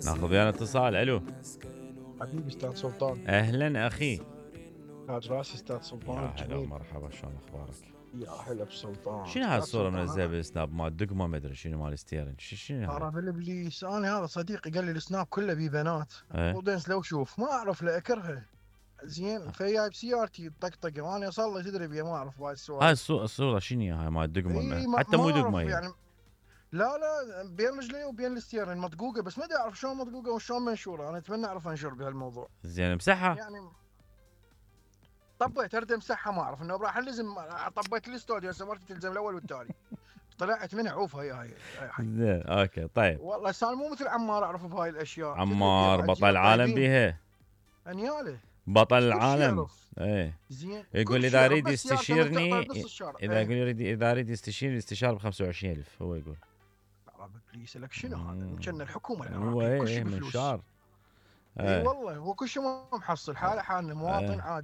ناخذ ويانا اتصال. الو حبيبي استاذ سلطان. اهلا اخي. تاج راسي استاذ يا سلطان هلا الجميل. ومرحبا، شلون اخبارك؟ يا هلا بسلطان. شنو استاذ هالصوره سلطان منزلها بالسناب مال دقمه ما ادري شنو مال ستيرن شنو هاي؟ ترى بالابليس انا هذا صديقي قال لي السناب كله بيه بنات. ايه ودنس لو شوف ما اعرف لا اكرهه. زين فجايب سيارتي طقطقه وانا صار لي تدري بيه ما اعرف بهاي هاي السوالف. الصوره شنو هاي مال دقمه؟ اي حتى ما مو دقمه اعرف هي. يعني. لا بين رجلي وبين الستيرن مطقوقه بس ما ادري اعرف شلون مطقوقه وشلون منشوره. انا اتمنى اعرف انشر بهالموضوع. زين امسحها. يعني طبيت ارد امسحها ما اعرف انه راح الزم. طبيت الاستوديو هسه مرتي تلزم الاول والتالي. طلعت منها عوف هاي. زين اوكي طيب. والله سالم مو مثل عمار اعرف بهاي الاشياء. عمار بطل العالم بيها. انياله بطل كل شيء العالم. يعرف. ايه زين يقول كل شيء اذا يعرف، اريد بس سيارته من يستشيرني تعطى نص الشارع. اذا اريد يستشيرني استشاره ب 25,000 هو يقول. ترى بليس لك شنو هذا؟ كان الحكومه هو العراقيه كل ايه شيء من بفلوس. شار. اي والله هو كل شيء ما محصل حاله حالنا مواطن عادي.